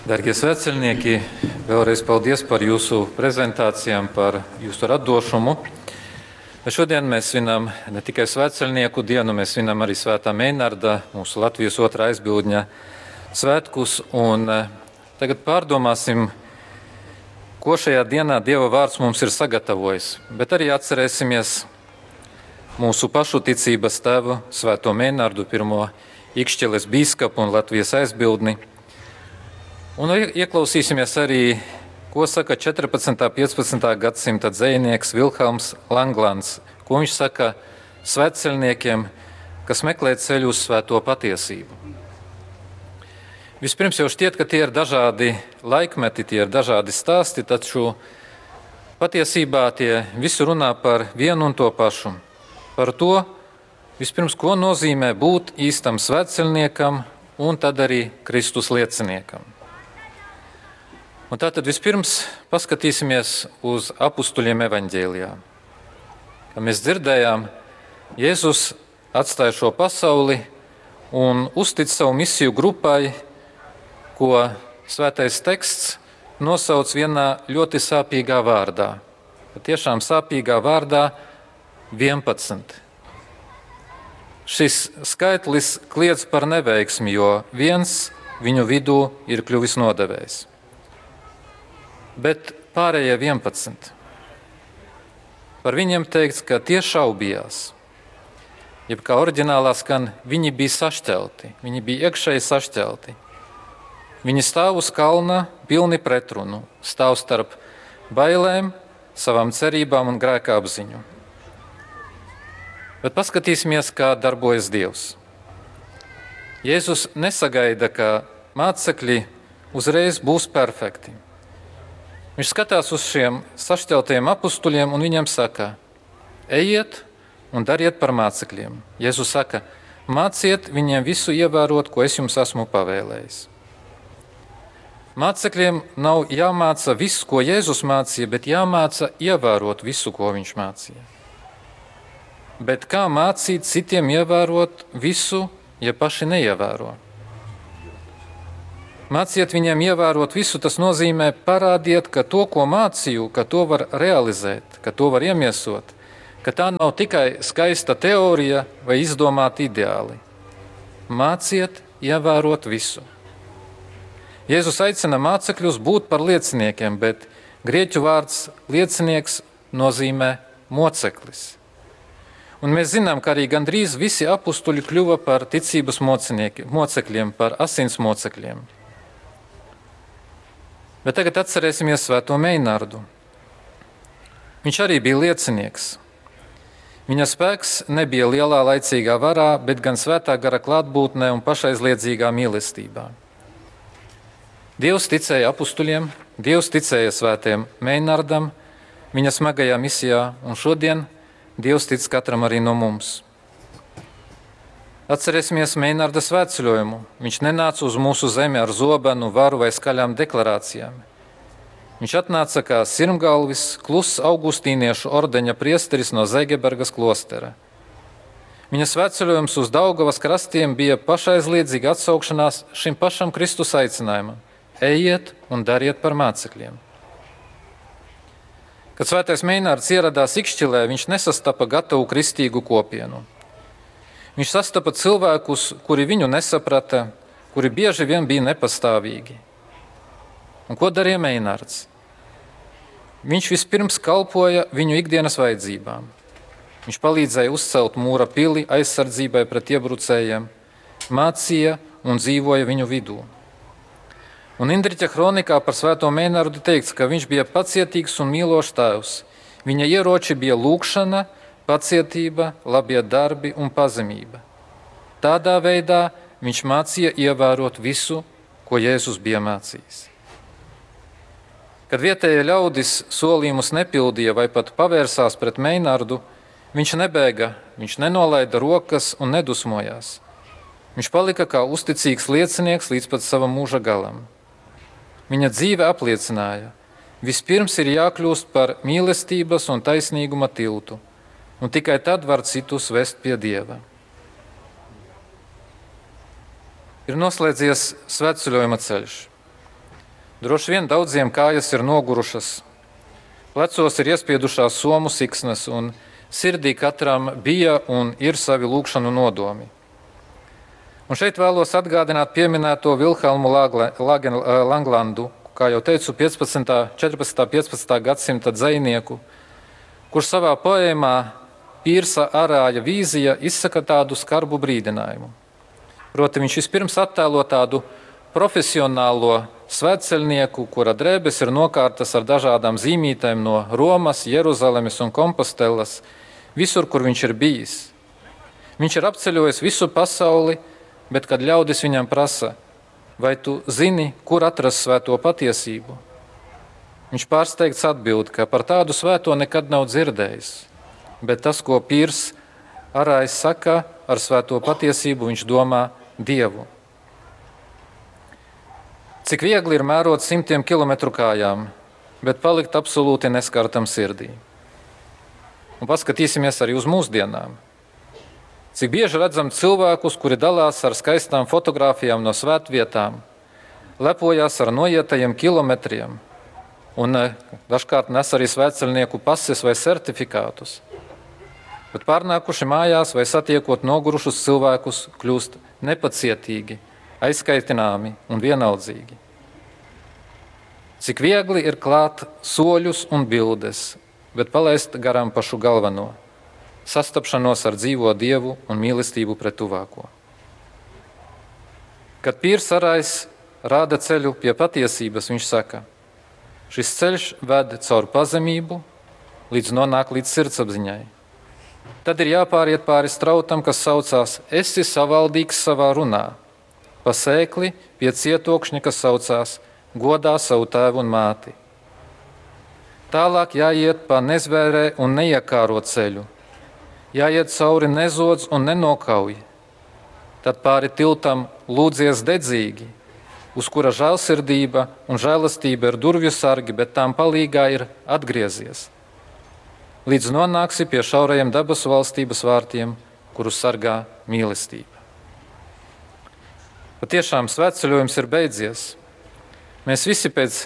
Darbie svētceļnieki, vēlreiz paldies par jūsu prezentācijām, par jūsu radošumu. Bet šodien mēs svinam ne tikai svētceļnieku dienu, mēs svinam arī Svētā Meinarda, mūsu Latvijas otrā aizbildņa svētkus. Un tagad pārdomāsim, ko šajā dienā Dieva vārds mums ir sagatavojis. Bet arī atcerēsimies mūsu pašu ticības tēvu, Svēto Meinardu, pirmo Ikšķiles bīskapu un Latvijas aizbildni. Un ieklausīsimies arī, ko saka 14. un 15. gadsimta dzejnieks Vilhelms Langlands, ko viņš saka svētceļniekiem, kas meklē ceļu uz svēto patiesību. Vispirms jau šķiet, ka tie ir dažādi laikmeti, tie ir dažādi stāsti, taču patiesībā tie visi runā par vienu un to pašu. Par to, vispirms, ko nozīmē būt īstam svētceļniekam un tad arī Kristus lieciniekam. Un tātad vispirms paskatīsimies uz apustuļiem evaņģēlijā. Kā mēs dzirdējām, Jēzus atstāja šo pasauli un uztic savu misiju grupai, ko svētais teksts nosauc vienā ļoti sāpīgā vārdā. Patiešām sāpīgā vārdā 11. Šis skaitlis kliedz par neveiksmi, jo viens viņu vidū ir kļuvis nodevējs. Bet pārējie 11. Par viņiem teikts, ka tie šaubījās. Jeb kā oriģinālā skan, viņi bija sašķelti, viņi bija iekšēji sašķelti. Viņi stāv uz kalna pilni pretrunu, stāv starp bailēm, savām cerībām un grēka apziņu. Bet paskatīsimies, kā darbojas Dievs. Jēzus nesagaida, ka mācekļi uzreiz būs perfekti. Viņš skatās uz šiem sašķeltajiem apustuļiem un viņiem saka: Ejiet un dariet par mācekļiem. Jēzus saka: Māciet viņiem visu ievērot, ko es jums esmu pavēlējis. Mācekļiem nav jāmāca viss, ko Jēzus mācīja, bet jāmāca ievērot visu, ko viņš mācīja. Bet kā mācīt citiem ievērot visu, ja paši neievēro? Māciet viņiem ievērot visu, tas nozīmē parādiet, ka to, ko mācīju, ka to var realizēt, ka to var iemiesot, ka tā nav tikai skaista teorija vai izdomāti ideāli. Māciet ievērot visu. Jēzus aicina mācekļus būt par lieciniekiem, bet grieķu vārds liecinieks nozīmē moceklis. Un mēs zinām, ka arī gandrīz visi apustuļi kļuva par ticības mocekļiem, par asins mocekļiem. Bet tagad atcerēsimies Svēto Meinardu. Viņš arī bija liecinieks. Viņa spēks nebija lielā laicīgā varā, bet gan svētā gara klātbūtnē un pašaizliedzīgā mīlestībā. Dievs ticēja apustuļiem, Dievs ticēja svētiem Meinardam, viņa smagajā misijā, un šodien Dievs tic katram arī no mums. Atcerēsimies Meinarda svētceļojumu. Viņš nenāca uz mūsu zemi ar zobenu, varu vai skaļām deklarācijām. Viņš atnāca kā sirmgalvis, kluss augustīniešu ordeņa priesteris no Zēgebergas klostera. Viņa svētceļojums uz Daugavas krastiem bija pašaizliedzīga atsaukšanās šim pašam Kristus aicinājumam: Ejiet un dariet par mācekļiem. Kad svētais Meinārds ieradās Ikšķilē, viņš nesastapa gatavu kristīgu kopienu. Viņš sastapa cilvēkus, kuri viņu nesaprata, kuri bieži vien bija nepastāvīgi. Un ko darīja Meinārds? Viņš vispirms kalpoja viņu ikdienas vajadzībām. Viņš palīdzēja uzcelt mūra pili aizsardzībai pret iebrucējiem, mācīja un dzīvoja viņu vidū. Un Indriķa kronikā par svēto Meinārdu teikts, ka viņš bija pacietīgs un mīlošs tēvs. Viņa ieroči bija lūgšana, pacietība, labie darbi un pazemība. Tādā veidā viņš mācīja ievērot visu, ko Jēzus bija mācījis. Kad vietējie ļaudis solījumus nepildīja vai pat pavērsās pret Meinardu, viņš nebēga, viņš nenolaida rokas un nedusmojās. Viņš palika kā uzticīgs liecinieks līdz pat savam mūža galam. Viņa dzīve apliecināja, vispirms ir jākļūst par mīlestības un taisnīguma tiltu, un tikai tad var citus vest pie Dieva. Ir noslēdzies svētceļojuma ceļš. Droši vien daudziem kājas ir nogurušas, plecos ir iespiedušās somu siksnas un sirdī katram bija un ir savi lūgšanu nodomi. Un šeit vēlos atgādināt pieminēto Vilhelmu Langlandu, kā jau teicu, 15., 14., 15. gadsimta dzejnieku, kurš savā poēmā Pīrsa Arāja vīzija izsaka tādu skarbu brīdinājumu. Proti viņš vispirms attēlo tādu profesionālo svētceļnieku, kura drēbes ir nokārtas ar dažādām zīmītēm no Romas, Jeruzalemes un Kompostelas, visur, kur viņš ir bijis. Viņš ir apceļojis visu pasauli, bet kad ļaudis viņam prasa, vai tu zini, kur atrast svēto patiesību? Viņš pārsteigts atbild, ka par tādu svēto nekad nav dzirdējis, bet tas, ko Pīrs Arājs saka, ar svēto patiesību viņš domā Dievu. Cik viegli ir mērot simtiem kilometru kājām, bet palikt absolūti neskartam sirdī. Un paskatīsimies arī uz mūsdienām. Cik bieži redzam cilvēkus, kuri dalās ar skaistām fotografijām no svētvietām, lepojās ar noietajiem kilometriem un dažkārt nes arī svētceļnieku pases vai certifikātus. Bet pārnākuši mājās vai satiekot nogurušus cilvēkus, kļūst nepacietīgi, aizkaitināmi un vienaldzīgi. Cik viegli ir klāt soļus un bildes, bet palaist garām pašu galveno – sastapšanos ar dzīvo Dievu un mīlestību pret tuvāko. Kad Pīrs Arājs rāda ceļu pie patiesības, viņš saka, šis ceļš ved caur pazemību, līdz nonāk līdz sirdsapziņai. Tad ir jāpāriet pāri strautam, kas saucās esi savaldīgs savā runā, pa sēkli pie cietokšņa, kas saucās godā savu tēvu un māti. Tālāk jāiet pa nezvērē un neiekāro ceļu, jāiet cauri nezodz un nenokauj, tad pāri tiltam lūdzies dedzīgi, uz kura žēlsirdība un žēlastība ir durvju sargi, bet tām palīgā ir atgriezies. Līdz nonāksi pie šaurajiem debesu valstības vārtiem, kuru sargā mīlestība. Patiešām svētceļojums ir beidzies. Mēs visi pēc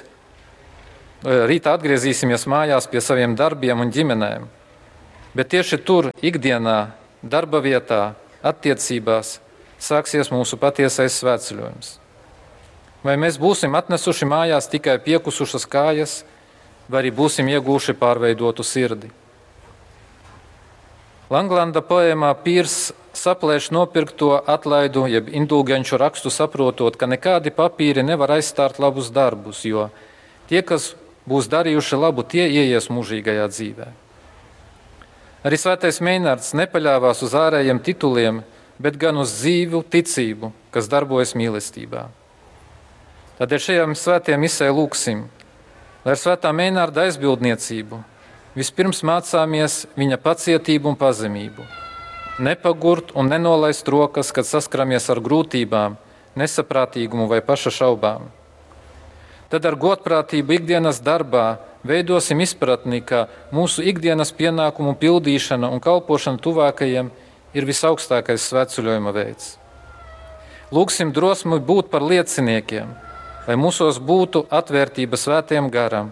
rīta atgriezīsimies mājās pie saviem darbiem un ģimenēm. Bet tieši tur, ikdienā, darba vietā, attiecībās, sāksies mūsu patiesais svētceļojums. Vai mēs būsim atnesuši mājās tikai piekusušas kājas, vai arī būsim ieguvuši pārveidotu sirdi? Langlanda poēmā Pīrs saplēš nopirkto atlaidu, jeb indulgenču rakstu saprotot, ka nekādi papīri nevar aizstāt labus darbus, jo tie, kas būs darījuši labu, tie ieies mūžīgajā dzīvē. Arī svētais Meinards nepaļāvās uz ārējiem tituliem, bet gan uz dzīvu ticību, kas darbojas mīlestībā. Tādēļ šajā svētajā misē lūgsim, lai ar svētā Meinarda aizbildniecību vispirms mācāmies viņa pacietību un pazemību, nepagurt un nenolaist rokas, kad saskaramies ar grūtībām, nesaprātīgumu vai paša šaubām. Tad ar godprātību ikdienas darbā veidosim izpratni, ka mūsu ikdienas pienākumu pildīšana un kalpošana tuvākajiem ir visaugstākais svētceļojuma veids. Lūgsim drosmi būt par lieciniekiem, lai mūsos būtu atvērtība svētajam garam,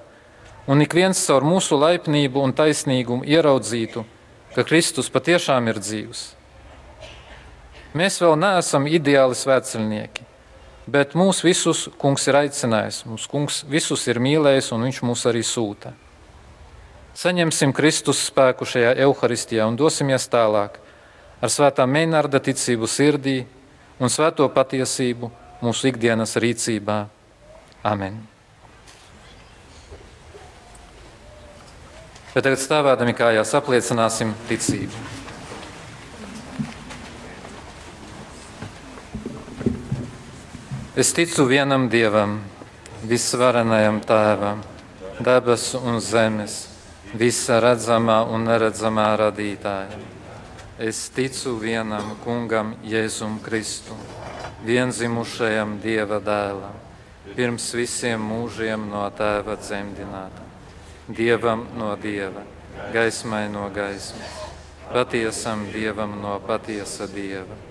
un ik viens caur mūsu laipnību un taisnīgumu ieraudzītu, ka Kristus patiešām ir dzīvs. Mēs vēl neesam ideāli svētceļnieki, bet mūs visus kungs ir aicinājis, mūs kungs visus ir mīlējis un viņš mūs arī sūta. Saņemsim Kristus spēku šajā Euharistijā un dosimies tālāk ar svētā Meinarda ticību sirdī un svēto patiesību mūsu ikdienas rīcībā. Amen. Bet tagad stāvēdami kājās apliecināsim ticību. Es ticu vienam Dievam, visvarenajam Tēvam, debesu un zemes, visa redzamā un neredzamā radītājam. Es ticu vienam Kungam Jēzum Kristum, vienzimušajam Dieva dēlam, pirms visiem mūžiem no Tēva dzemdinātam, Dievam no Dieva, gaismai no gaismas, patiesam Dievam no patiesa Dieva,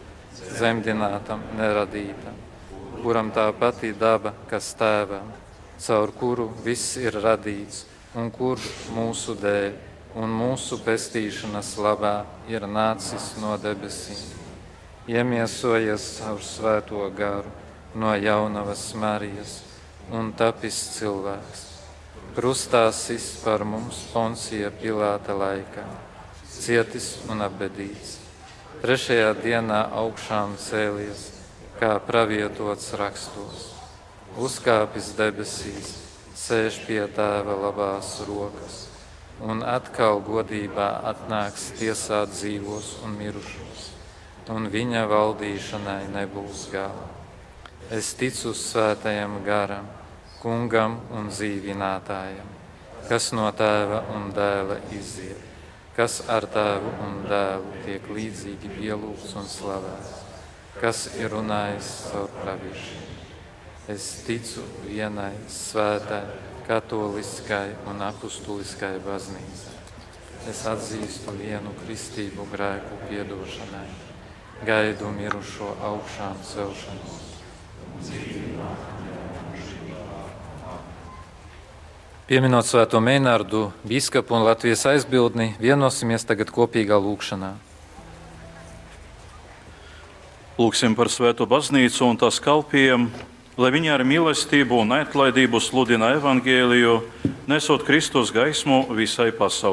dzemdinātam, neradītam, kuram tā pati daba, kas Tēvam, caur kuru viss ir radīts un kurš mūsu dēļ un mūsu pestīšanas labā ir nācis no debesīm, iemiesojies caur svēto garu no jaunavas Marijas un tapis cilvēks. Krustā sis par mums Poncija Pilāta laikā, cietis un apbedīts. Trešajā dienā augšām cēlies, kā pravietots rakstos, uzkāpis debesīs, sēž pie tēva labās rokas un atkal godībā atnāks tiesāt dzīvos un mirušos, un viņa valdīšanai nebūs gala. Es ticu svētajam garam, kungam un dzīvinātājam, kas no tēva un dēla iziet, kas ar tēvu un dēlu tiek līdzīgi pielūgts un slavēts, kas ir runājis caur praviešiem. Es ticu vienai svētai, katoliskai un apustuliskai baznīcai. Es atzīstu vienu kristību grēku piedošanai, gaidu mirušo augšām celšanos. Pieminot svēto Meinārdu, bīskapu un Latvijas aizbildni, vienosimies tagad kopīgā lūgšanā. Lūgsim par svēto baznīcu un tās kalpiem, lai viņi ar mīlestību un neatlaidību sludina evangēliju, nesot Kristus gaismu visai pasaulē.